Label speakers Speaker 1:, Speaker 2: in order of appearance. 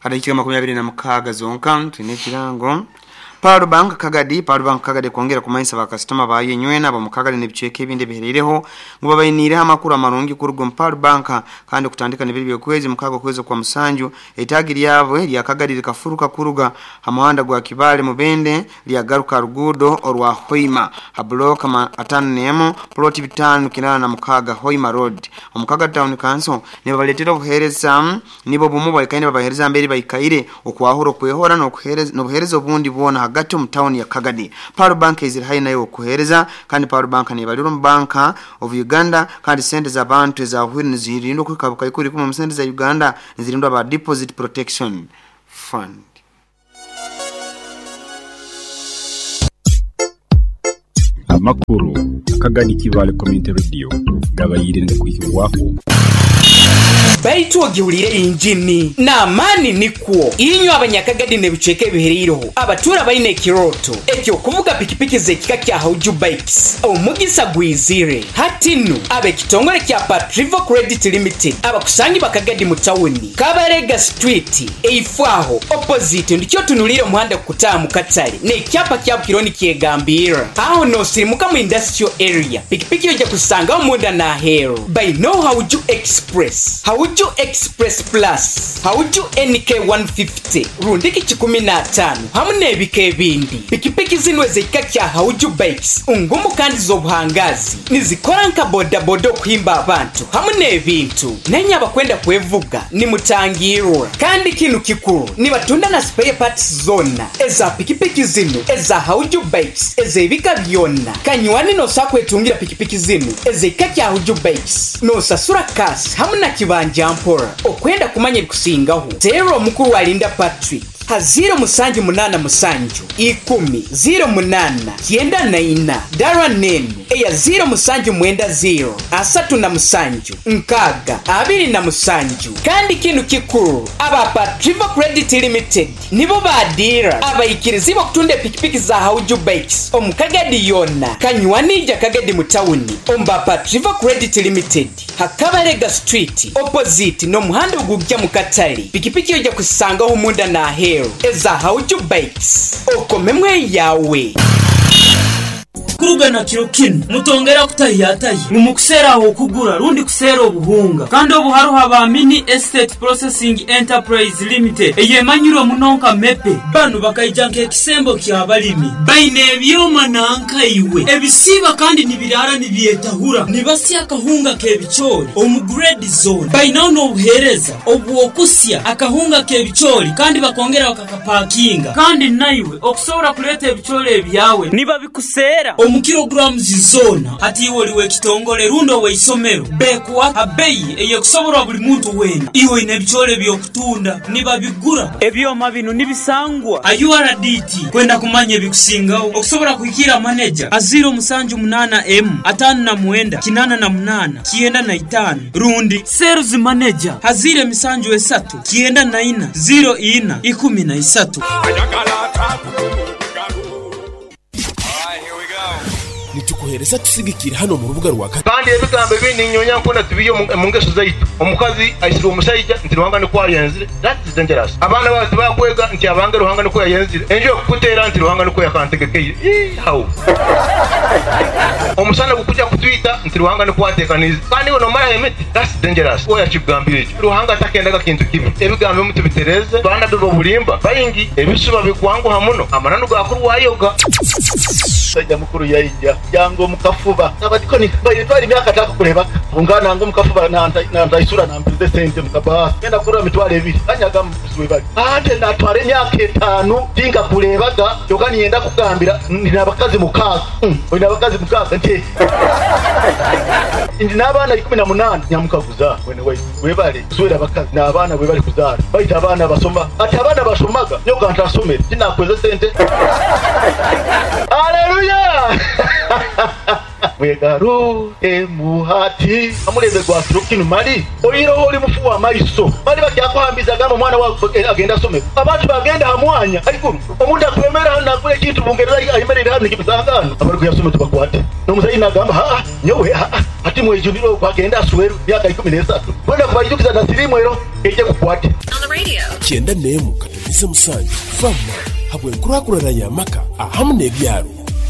Speaker 1: Hadakiika 26 zonka tulina ekirango Pearl Bank Kagadi. Pearl Bank Kagadi kwongera kumanyisa bakasitoma bayo enywena ab'omu Kagadi n'ebicweka ebindi ebihereireho ngu babainiireho amakuru amarungi kuruga omu Pearl Bank. Kandi kutandika n'ebiro by'okwezi 6 okwezi kwa 7, etaagi lyabwe lya Kagadi likafuruka kuruga ha muhanda gwa Kibale Mubende lyagaruka ruguudo orwa Hoima ha block 51 plot 586 Hoima Road omu Kagadi Town Council. Nibabaleetera obuheereza nibo bumu baikaire nibabaheereza mbere baikaire okwahura, okwehora n'obuheereza obundi bwona hagati omu tawuni ya Kagadi. Pearl Bank eziri haihi nayo okuheereza. Kandi Pearl Bank nebalirwa omu Bank of Uganda, kandi sente z'abantu ezahuhwire nizirindwa okuhika bukaikuru 10 omu sente za Uganda, nizirindwa ba Deposit Protection Fund.
Speaker 2: Amakuru Akagadi Kibaale Community Radio gabaire nigakwihibwaho.
Speaker 3: Baitu ogihuliire yingini n'amaani nikwo. Inywe Abanyakagadi n'ebicweka ebihereireho abatuura baine ekirooto eky'okuvuga pikipiki z'ekika kya Hauju Bikes, omugisa gwizire. Hati nu, ab'ekitongore kya Patrivo Credit Limited abakusangibwa Kagadi mu tawuni, Kabarega Street, eifo aho, opposite, ndikyo otunuliire omuhanda gukutaaha mu katale n'ekyapa kya Bukironi kyegambirra. Aho n'osirimuka mu Industrial Area, pikipiki oija kuzisangaho munda n'aheeru. Bainagho Hauju Express, Hauju Express Plus, Hauju NK 150, rundiki kikumi n'ataanu hamu n'ebika ebindi. Pikipiki zinu ez'ekika kya Hauju Bikes ngumu kandi z'obuhangaazi. Nizikora nka bodaboda okuhimba abantu hamu n'ebintu. Nainye abakwenda kwevuga nimutangirwa. Kandi kinu kikuru, nibatunda na spare parts zoona eza pikipiki zinu eza Hauju Bikes ez'ebika byona. Kanywani nosobola kwetungira pikipiki zinu ez'ekika kya Hauju Bikes nosasura cash hamu na kibanja mpora. Okwenda kumanya ebikusingaho, teera omukuru Alinda Patrick ha ziiro musanju munaana musanju ikumi ziiro munaana kyenda na ina, dara n'enu eya ziiro musanju mwenda ziiro asatu na musanju nkaaga abiri na musanju. Kandi kinu kikuru, aba Patrivo Credit Limited nibo ba diira abaikirizibwa okutunda epikipiki za Hauju Bikes omu Kagadi yoona. Kanywani ija Kagadi mu tawuni omu ba Patrivo Credit Limited ha Kabalega Street opposite n'omuhanda ogugya mu katale. Pikipiki oija kuzisangaho munda n'aheeru eza Hauju Bikes. Okomemu eyawe.
Speaker 4: Kuruga na kiro kinu, mutongera kutahiyatahya ngu mukuseera ah'okugura rundi kuseera obuhunga. Kandi obu haroho aba Mini Estate Processing Enterprise Limited eyemanyirwe muno nka MEPE. Banu bakaija nk'ekisembo ky'abalimi. Baine ebyoma nanka iwe ebisiiba kandi nibiraara nibyetahura, nibasya akahunga k'ebicoori omu grade zoona. Bainaho n'obuheereza obw'okusya akahunga k'ebicoori kandi bakongera bakakapakinga. Kandi naiwe okusobora kuleeta ebicoori ebyawe nibabikuseera omu kilograms zoona. Hati iwe oli w'ekitongole rundi ow'eisomero, bekuha ha beyi ey'ekusoborwa buli muntu weena. Iwe oine ebicoori eby'okutunda, nibabigura. Ebyoma binu nibisangwa ha URDT. Kwenda kumanya ebikusingaho, okusobora kuhikiira maneja ha ziiro musanju munaana emu ataano na mwenda kinaana na munaana kyenda na itaano rundi sales manager ha ziiro emisanju esatu kyenda na ina ziiro ina ikumi na isatu.
Speaker 5: Nitukuheereza tusigikire hanu omu rubuga rwa.
Speaker 6: Kandi ebigambo ebi ninyonya nkona tubiihe omu ngeso zaitu. Omukazi aisirwe omusaija nti Ruhanga nikwo ayenzire, that is dangerous. Abaana baawe tibakwega nti abange Ruhanga nikwo yayenzire. Enju ekukuteera nti Ruhanga nikwo yakantegekeire. Ii how? Omusana gukujja kutwita nti Ruhanga nikwo ateekaniize. Kandi iwe nomaraho emiti, that's dangerous. Oya akikugambire ekyo. Ruhanga takendaga kintu kibi. Ebigambo ebimu tubitereeze. Baanabbi b'obulimba baingi, ebisuba bikwanguha muno, amananu gaakurwayoga.
Speaker 7: Musaija mukuru yaija yanga omu kafuba. Abadikoni baine twara emyaka takakurebaga. Kwonka nanga omu kafuba nantaisura nampiza esente mu kabaasi. Ngenda kurora 20,000. Kanyaga muguzi webale. Ante natwara emyaka etaano tinkakurebaga kyonka niinyenda kukugambira ndi n'abakazi mukaaga. Oine abakazi mukaaga? Nti ndi n'abaana 18. Nyamukaguza mwene waitu webale kuswera abakazi n'abaana webale kuzaara. Baitu abaana basoma. Ati abaana bashomaga nyowe ka ntasomere tinakweza esente. Aleluya! Mwegarukemu hati amulembe gwa kiro kinu mali oiroho oli mufu wa maiso mali bakyakuhambiza gamba omwana wawe agenda asome abantu bagenda ha mwanya haiguru omuntu akwemera hano nagura ekintu Bungereza ayemerere hano nikimusanga abari kuyasoma tubakwate n'omuzayi nagamba haa nyowe haa hati mwejunire okwo agenda asweru myaka 13 kwenda kubaijukiza na sirimu ero eije kukwate
Speaker 5: 91.7 fama habw'enkurakurana y'amaka ahamu n'ebyaro.